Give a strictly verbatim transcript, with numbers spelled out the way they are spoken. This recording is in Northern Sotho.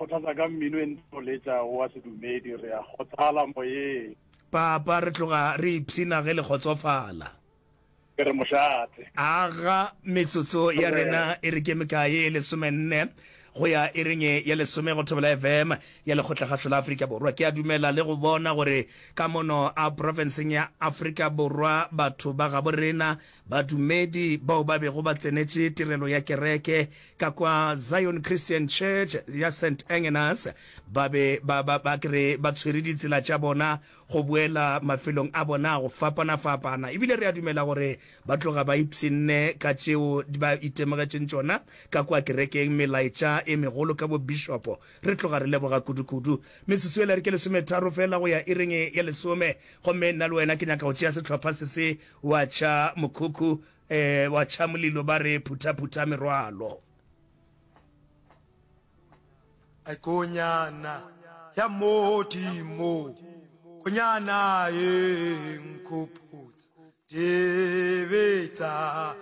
kgothatsa ka mmino e ntse letša wa sedumedi, re a kgothala moyeng. Papa, re tloga re ipshina ge le kgotsofala. Ke re mošate. Aga, metsotso ya rena e re ke mekae? E lesomenne go ya iring ya lesome go Thobela F M ya Lekgotlakgašo la Afrika Borwa. Ke a dumela le go bona gore ka mono a profenseng ya Afrika Borwa batho ba gabo rena badumedi bao ba bego ba tsenetše tirelo ya kereke ka kwa Zion Christian Church ya Saint Engenas ba be ba ba ba kere ba tshwere ditsela tša bona go boela mafelong a bona a go fapana-fapana. Ebile re a dumela gore ba tloga ba ipshinne ka tšeo ba itemogetšeng tšona ka kua kerekeng, melaetša e megolo ka bobishopo. Re tloga re leboga kudu-kudu. Metsotso yela re ke lesometharo fela go ya iring ya lesome, gomme nna le wena ke nyaka go tšea sehlopha se se wa tšha mokhukhu, eh, wa tšha molilo ba re phutha-phutha merwalo. Ai konyana ya Modimo, konyana ye nkhopotsa dibe tsa.